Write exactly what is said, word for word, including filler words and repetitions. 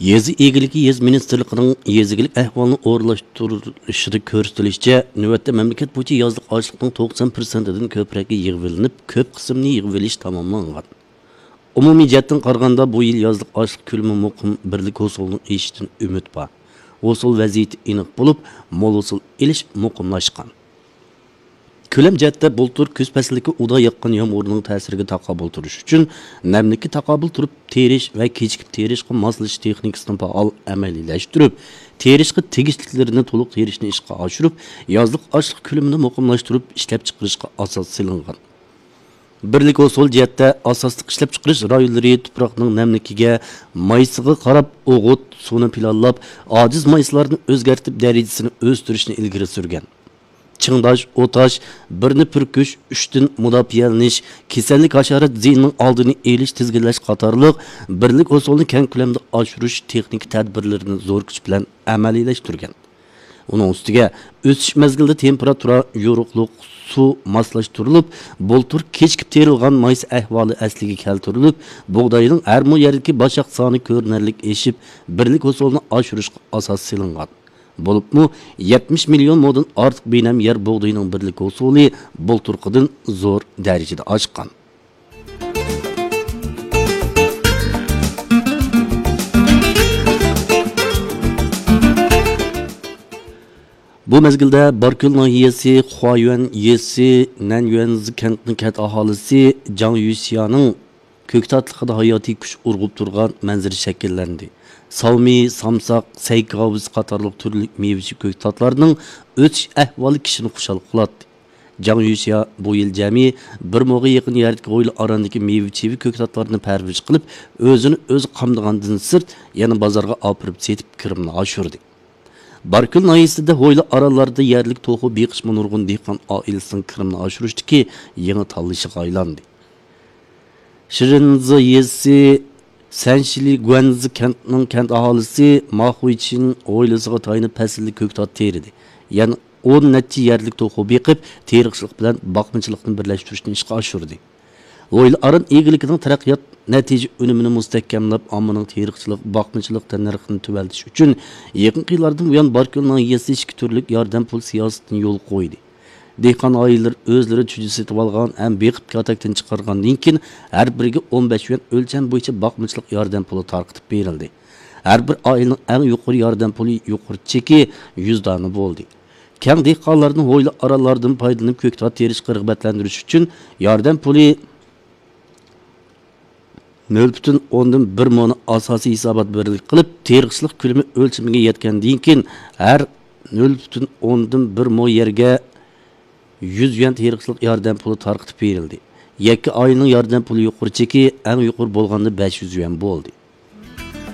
يېزا ئىگىلىكى يېزا مىنىستىرلىقىنىڭ يېزا ئىگىلىك ئەھۋالىنى ئورۇنلاشتۇرۇشىدا كۆرسىتىلىشىچە، نۆۋەتتە مەملىكەت بويىچە يازلىق ئاشلىقنىڭ توقسان پىرسەنتىدىن كۆپرەكى يىغىۋېلىنىپ، كۆپ قىسمىنى يىغىۋېلىش تاماملانغان. ئومۇمىي جەھەتتىن قارىغاندا، بۇ يىل يازلىق ئاشلىق كۆلىمى مۇقىم، بىرلىك ھوسۇلنىڭ ئېشىشىدىن ئۈمىد بار. ھوسۇل ۋەزىيىتى ئېنىق بولۇپ، مول ھوسۇل ئېلىش مۇقىملاشقان. كۆلەم جەھەتتە بۇلتۇر كۈز پەسلىدىكى ئۇدا ياغقان يامغۇرنىڭ تەسىرىگە تاقابىل تۇرۇش ئۈچۈن، نەملىككە تاقابىل تۇرۇپ تېرىش ۋە كېچىكىپ تېرىشقا ماسلىشىش تېخنىكىسىنى پائال ئەمەلىيلەشتۈرۈپ، تېرىشقا تېگىشلىكلىرىنى تولۇق تېرىشنى ئىشقا ئاشۇرۇپ، يازلىق ئاشلىق كۆلىمىنى مۇقىملاشتۇرۇپ ئىشلەپچىقىرىشقا ئاساس سېلىنغان. بىرلىك ھوسۇل جەھەتتە ئاساسلىق ئىشلەپچىقىرىش رايونلىرى تۇپراقنىڭ نەملىكىگە، مايسىغا قاراپ ئوغۇت، سۇنى پىلانلاپ، ئاجىز مايسىلارنى ئۆزگەرتىپ دەرىجىسىنى ئۆستۈرۈشنى ئىلگىرى سۈرگەن. چىڭداش، ئوتاش، بىرنى پۈركۈش، ئۈچتىن مۇداپىئەلىنىش، كېسەللىك، ھاشارات زىيىنىنىڭ ئالدىنى ئېلىش، تىزگىنلەش قاتارلىق بىرلىك ھوسۇلنى كەڭ كۆلەمدە ئاشۇرۇش تېخنىكا تەدبىرلىرىنى زور كۈچ بىلەن ئەمەلىيلەشتۈرگەن. ئۇنىڭ ئۈستىگە، ئۆسۈش مەزگىلىدە تېمپېراتۇرا، يورۇقلۇق، سۇ ماسلاشتۇرۇلۇپ، بۇلتۇر كېچىكىپ تېرىلغان مايسا ئەھۋالى ئەسلىگە كەلتۈرۈلۈپ، بۇغداينىڭ ھەر مو يەردىكى باشاق سانى كۆرۈنەرلىك ئېشىپ، بىرلىك ھوسۇلنى ئاشۇرۇشقا ئاساس سېلىنغان. بولۇپمۇ، يەتمىش مىليون مودىن ئارتۇق بىنەم يەر بۇغدىيىنىڭ بىرلىك ھوسۇلى بۇلتۇرقىدىن زور دەرىجىدە ئاشقان. بۇ مەزگىلدە باركۆل ناھىيەسى خۇايۈەن يېزىسى نەنيۈەنزى كەنتىنىڭ كەنت ئاھالىسى جاڭ يۈسيانىڭ كۆكتاتلىقىدا ھاياتىي كۈچ ئۇرغۇپ تۇرغان مەنزىرە شەكىللەندى. ساۋمى، سامساق، سەيكاۋىز قاتارلىق تۈرلۈك مېۋىچى كۆكتاتلارنىڭ ئۆسۈش ئەھۋالى كىشىنى خۇشال قىلاتتى. جاڭ يۈسيا بۇ يىل جەمئىي بىر موغا يېقىن يەردىكى ھويلا ئاراندىكى مېۋە-چېۋە كۆكتاتلارنى پەرۋىش قىلىپ، ئۆزىنى ئۆزى قامدىغاندىن سىرت، يەنە بازارغا ئاپىرىپ سېتىپ، كىرىمىنى ئاشۇردى. باركۆل ناھىيەسىدە ھويلا ئارانلاردا يەرلىك توخۇ بېقىشمۇ نۇرغۇن دېھقان ئائىلىسىنىڭ كىرىمىنى ئاشۇرۇشتىكى يېڭى تاللىشىغا ئايلاندى. شىرىنزا يېزىسى سەنشىلى گۇەنزى كەنتىنىڭ كەنت ئاھالىسى ما خۇيچىن ھويلىسىغا تايىنىپ پەسىللىك كۆكتات تېرىدى. يەنە ئون نەچچە يەرلىك توخۇ بېقىپ، تېرىقچىلىق بىلەن باقمىچىلىقنى بىرلەشتۈرۈشنى ئىشقا ئاشۇردى. ھويلا ئاران ئىگىلىكىنىڭ تەرەققىيات نەتىجە ئۈنۈمىنى مۇستەھكەملەپ، ئاممىنىڭ تېرىقچىلىق، باقمىچىلىق تەننەرخىنى تۆۋەنلىتىش ئۈچۈن، يېقىنقى يىللاردىن بۇيان باركۆل ناھىيەسى ئىككى تۈرلۈك ياردەم پۇل سىياسىتىنى يولغا قويدى. دېھقان ئائىلىلىرى ئۆزلىرى چۈجە سېتىۋالغان ھەم بېقىپ كاتەكتىن چىقارغاندىن كېيىن، ھەر بىرىگە ئون بەش يۈەن ئۆلچەم بويىچە باقمىچىلىق ياردەم پۇلى تارقىتىپ بېرىلدى. ھەر بىر ئائىلىنىڭ ئەڭ يۇقىرى ياردەم پۇلى يۇقىرى چېكى يۈز دانە بولدى. كەڭ دېھقانلارنى ھويلا ئارانلاردىن پايدىلىنىپ كۆكتات تېرىشقا رىغبەتلەندۈرۈش ئۈچۈن، ياردەم پۇلى نۆل پۈتۈن ئوندىن بىر مونى ئاساسىي ھېسابات بىرلىك قىلىپ، تېرىقچىلىق كۆلىمى ئۆلچىمىگە يەتكەندىن كېيىن، ھەر نۆل پۈتۈن ئوندىن بىر مو يەرگە يۈز يۈەن تېرىقچىلىق ياردەم پۇلى تارقىتىپ بېرىلدى. يەككە ئائىلىنىڭ ياردەم پۇلى يۇقىرى چېكى ئەڭ يۇقىرى بولغاندا بەش يۈز يۈەن بولدى.